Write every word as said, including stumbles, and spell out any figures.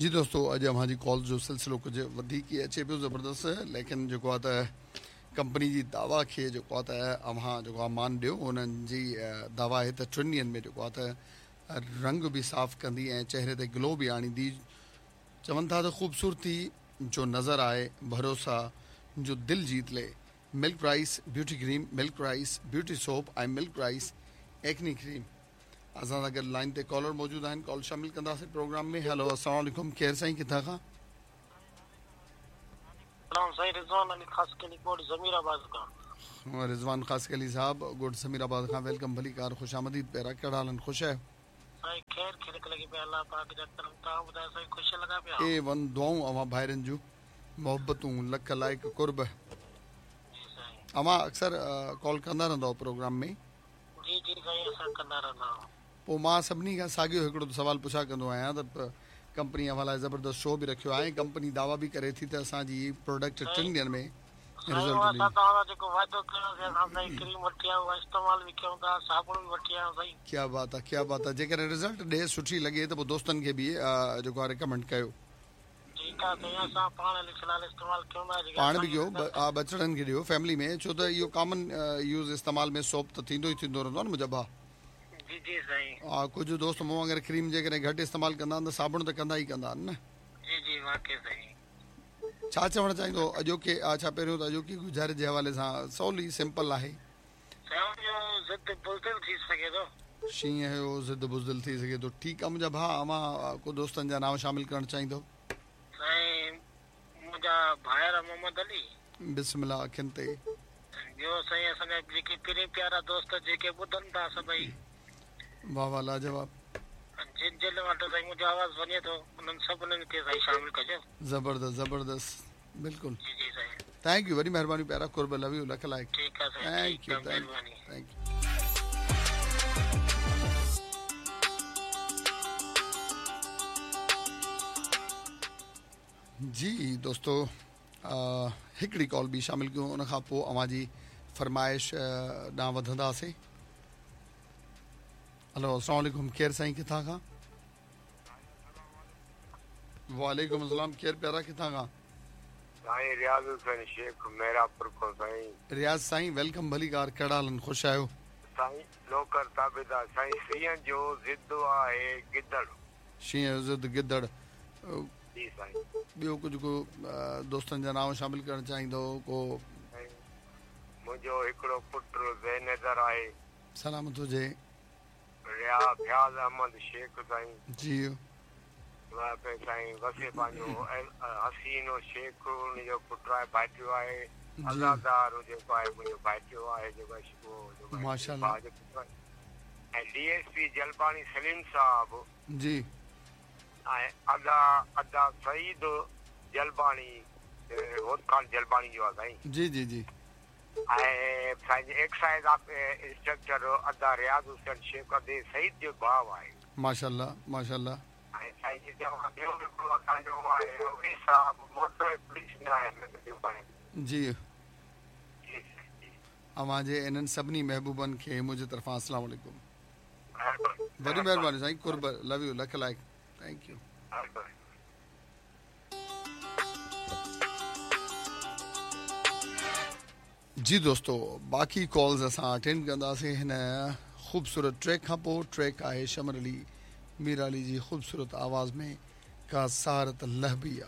जी दोस्तों, अॼु अव्हां जी कॉल जो सिलसिलो कुझु वधीक ई अचे पियो ज़बरदस्त, लेकिन जेको आहे त कंपनी जी दावा खे जेको आहे त अव्हां जेको आहे मान ॾियो। उन्हनि जी दावा आहे त टिनि ॾींहंनि में जेको आहे त रंग बि साफ़ कंदी ऐं चेहरे ते ग्लो बि आणींदी। चवनि था त ख़ूबसूरती जो नज़र आए, भरोसा जो दिल जीत ले। Milk rice beauty cream, milk rice beauty soap ऐं मिल्क राइस एक्नी क्रीम। असां सां गॾु लाइन ते कॉलर मौजूदु आहिनि, कॉल शामिल कंदासीं प्रोग्राम में। हेलो, अस्सलाम वालेकुम, केरु साईं, किथां खां? रिज़वान अली खासकेली, गोठ ज़मीराबाद खां। रिज़वान खासकेली साहब, गोठ ज़मीराबाद खां, welcome, भली कार, ख़ुशि आमदीद। प्यारा, कहिड़ा हाल आहिनि? ख़ुशि आहियो? साईं ख़ैर ख़ैर लॻी पिया, अलाह पाक जा करम। तव्हां ॿुधायो साईं, ख़ुशि लॻा पिया? ए वन दुआऊं अव्हां भाइरनि जूं, मोहबतूं, लख लाइक़ क़ुर्ब। जी साईं। अव्हां अक्सर कॉल कंदा रहंदा आहियो प्रोग्राम में? जी जी साईं, असां कंदा रहंदा आहियूं। पोइ मां सभिनी खां साॻियो हिकिड़ो सवाल पुछा कंदो आहियां त कंपनी अव्हां लाइ ज़बरदस्त शो बि रखियो आहे, कंपनी दावा बि करे थी त असांजी प्रोडक्ट टिनि ॾींहंनि में रिज़ल्ट ॾींदी। क्या बात आहे, क्या बात आहे। जेकॾहिं रिज़ल्ट ॾे सुठी लॻे त पोइ दोस्तनि खे बि जेको आहे रिकमेंड कयो। पाण बि कयो, बचड़नि खे ॾियो फैमिली में, छो त इहो कॉमन यूज़ इस्तेमाल में सोप त थींदो ई थींदो रहंदो आहे न मुंहिंजा भाउ। जी जी साईं। हा, कुझु दोस्त मूं वांगुरु क्रीम जेकॾहिं घटि इस्तेमालु कंदा आहिनि त साबुण त कंदा ई कंदा आहिनि न। जी जी वाकई साईं। छा चवणु चाहींदो अॼोके, छा पहिरियों त अॼोकी गुज़ारिश जे हवाले सां सवली सिंपल आहे। शींहं जो ज़िद बुज़दिल थी सघे थो। ठीकु आहे मुंहिंजा भाउ, अव्हां को दोस्तनि जा नाम शामिल करणु चाहींदो? साईं मुंहिंजा भाइर मोहम्मद अली, बिस्मिल्लाह अखियुनि ते। ॿियो साईं असांजा जेके पहिरीं प्यारा दोस्त जेके ॿुधनि था सभई, वाह वाह लाजवाब। जिन जिन वटि साईं मुंहिंजो आवाज़ वञे थो उन्हनि सभिनीनि खे साईं शामिल कजो। ज़बरदस्त ज़बरदस्त, बिल्कुलु। जी जी साईं, thank you, वॾी महिरबानी प्यारा, क़ुर्ब, लव you, लख लाइक़। ठीकु आहे साईं, thank you, thank you. जी दोस्तो, हिकिड़ी कॉल बि शामिल कयूं, उन खां पोइ अव्हां जी फरमाइश ॾांहुं वधंदासीं। हेलो, अस्सलाम वालेकुम, केरु साईं, किथां खां? वालेकुम अस्सलाम, केरु प्यारा, किथां खां? साईं रियाज़ हुसैन शेख, मेरापुर खां साईं। रियाज़ साईं, welcome, भली कार, कहिड़ा हाल आहिनि? ख़ुशि आहियो? साईं नौकर ताबेदार। साईं शींहं जो ज़िद आहे गिदड़। शींहं जो ज़िद गिदड़। जी साईं। ॿियो कुझु को दोस्तनि जा नाम शामिल करणु चाहींदो को? मुंहिंजो हिकिड़ो पुटु ज़ैनदर आहे। सलामत हुजे। रिया फयाज़ अहमद शेख साईं। जी साईं वसे पंहिंजो हसीनो शेख उनजो पुटु आहे, भाइटियो आहे। आज़ादार जेको आहे मुंहिंजो भाइटियो आहे जेको माशाअल्लाह। ऐं D S P Jalbani Saleem साहब जी, ऐं अदा अदा सईद जलबाणी होत खान जलबाणी जो आहे साईं। जी जी जी। ऐं साईं एक्साइज़ इंस्पेक्टर अदा रियाज़ हुसैन शेख अदे सईद जो भाउ आहे। माशाअल्लाह माशाअल्लाह। ऐं साईं ॿियो हिकिड़ो असांजो आहे उहे साहब मोटर पुलिस में आहे। जी, अव्हांजे इन्हनि सभिनी महबूबनि खे मुंहिंजे तरफ़ां अस्सलाम वालेकुम। वॾी महिरबानी साईं, क़ुर्ब, लव you, लख लाइक़, thank you. जी दोस्तों, बाक़ी कॉल्स असां अटेंड कंदासीं हिन ख़ूबसूरत ट्रैक खां पोइ। ट्रैक आहे शमर अली मीराली जी ख़ूबसूरत आवाज़ में, का सारत लहबिया।